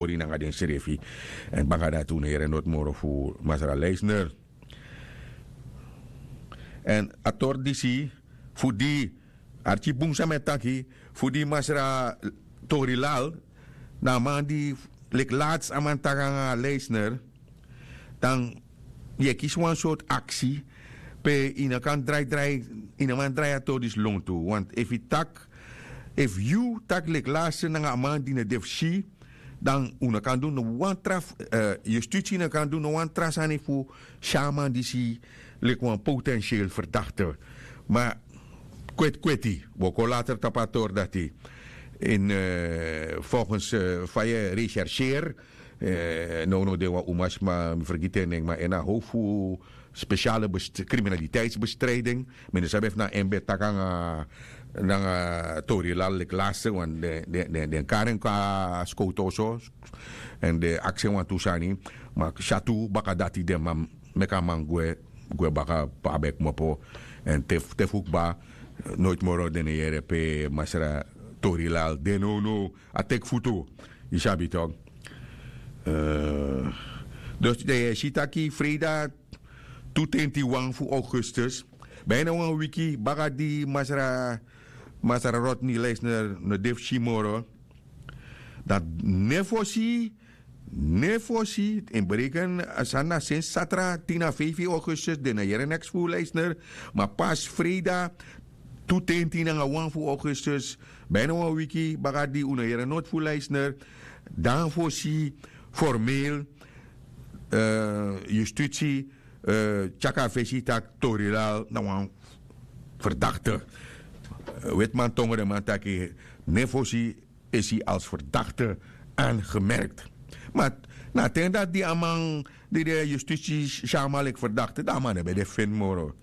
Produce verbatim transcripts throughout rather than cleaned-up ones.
tori nanga densrefi. Èn baka dati un no yere noti moro fu masra leisner. Èn a tori disi fu di arki bun san mi e taki, fu di masra tori lal na a man di leki lati a man taki nanga leisner, dan yu e kisi wan sortu aksi pe yu no kan drai drai, yu no man drai a tori disi lontu. Want efu yu taki efu yu taki leki lati nanga a man di no de fu si, dan un no kan du no wan tra, yustiti no kan du no wan tra sani fu si a man disi leki wan potensiel ferdakte. Ma kweti kweti wi o kon later tapu a tori dati. Folgens fa yu e rechercheri, nownow den wan umasma mi fergiti en nen ma en na how fu spesiale kriminaliteitsbestriding. Mi no sabi efu na en ben taki nanga tori lal leki laste wan den kari en kon na skowtu oso. Èn den aksi en wantu sani. Ma syatu baka dati den man meki a man gwe gwe baka. Abi e kmopo. Èn te fu kba noiti moro den e yere pe masra tori lal de nownow a teki futu. Yu sabi tok. Dus dan yu e si taki freida tu tenti wan fu augustus, bina wan wiki baka di masra masra rodney leisner no de fu si moro. Dan nefosi nefosi en bereken a sani na sensi satra tin na feifi augustus den no yere neks fu leisner. Ma pasi freida tu tenti nanga wan fu augustus, bina wan wiki baka di un no yere noti fu leisner, dan fosi formeel yustiti tyaki a fesi tak' tori lal na wan ferdakte. Wetiman tongo den man taki nefosi isi als ferdakte angemerkt. Ma na a ten dati di a man di de yustiti si a man leki ferdakte dan a man no ben de feni moro.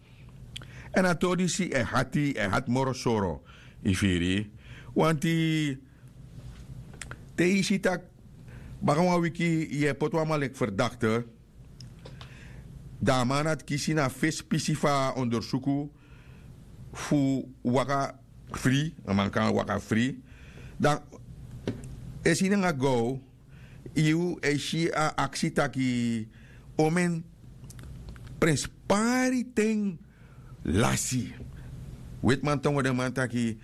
Èn a tori disi e hati e hati moro soro. Yu firi wanti te yu si tak' baka wan wiki yu e poti wan man leki ferdakte, dan a man dati kisi na a fesi pisi fu a ondersuku fu waka fri. A man kan waka fri. Dan e si nanga gow yu e si a aksi taki omen prenspari ten lasi. Wetiman tongo den man taki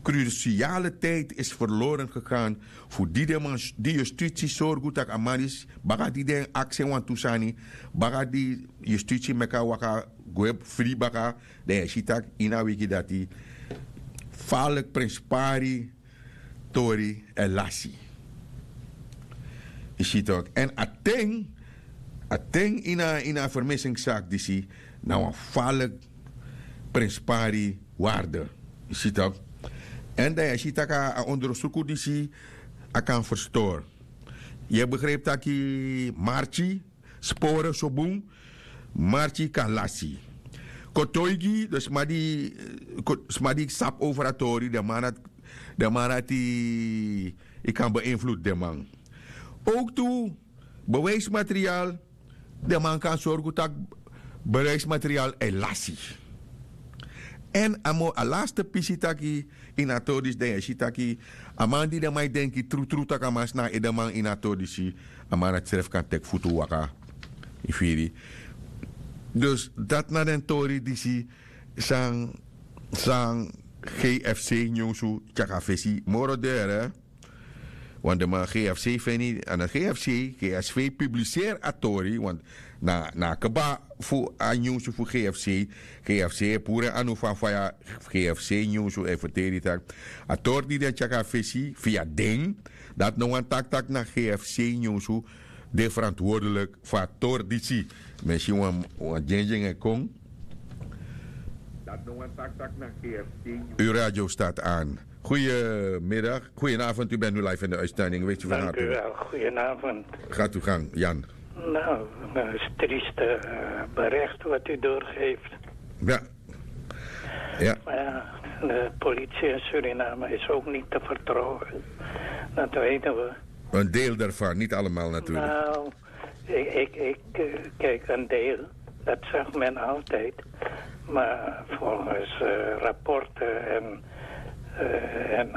krusiale tijdi isi ferloren gegan. Fu di den man di yustiti sorgu tak' a man disi baka di den aksi en wantu sani baka di yustiti meki a waka gwe fri baka. Dan yu e si tak' ini a wiki dati faliki prenspari tori e lasi. Yu si tok' èn a ten a ten ini a fermisingsaki disi na wan faliki prenspari warde. Yu si tok'. Èn dan yu e si tak' a ondersuku disi a kan ferstori. Yu e begripi tak' marki spore so bun. Marki kan lasi kotoigi den sma di sabi over a tori den man dati yu kan beinflutu den man. Owktu bewijsmaterial den man kan sorgu tak' bewijsmaterial e lasi. Èn a mo a laste pisi taki ini a tori disi dan yu e si taki a man di den man e denki trutru tak' a man si na a edeman ini a tori disi a man dati srefi kan teki futu waka. Yu firi dus dati na den tori disi san san gfc nyunsu tyaka fesi moro dere. Want den man gfc feni a na gfc gsv publiseri a tori want na a kba fu a nyunsu fu gfc. Gfc e puru en anu fa faya gfc nyunsu e ferteri tak' a tori di den tyaka fesi fia den dati no wani taki tak' na gfc nyunsu de ferantwordelik fu a tori disi. Mi e si wan dyendyen e kon. Dati no wani taki tak' na gfc nyunsu. Yu radio start an. Goeienaavond u bent nu live in de uitstending weet u van harte. Gaat u gang, jan. Nou, dat is trieste bericht wat u doorgeeft. Ja. Ja. Maar ja, de politie in Suriname is ook niet te vertrouwen. Dat weten we. Een deel daarvan, niet allemaal natuurlijk. Nou, ik kijk een deel. Dat zag men altijd. Maar volgens rapporten en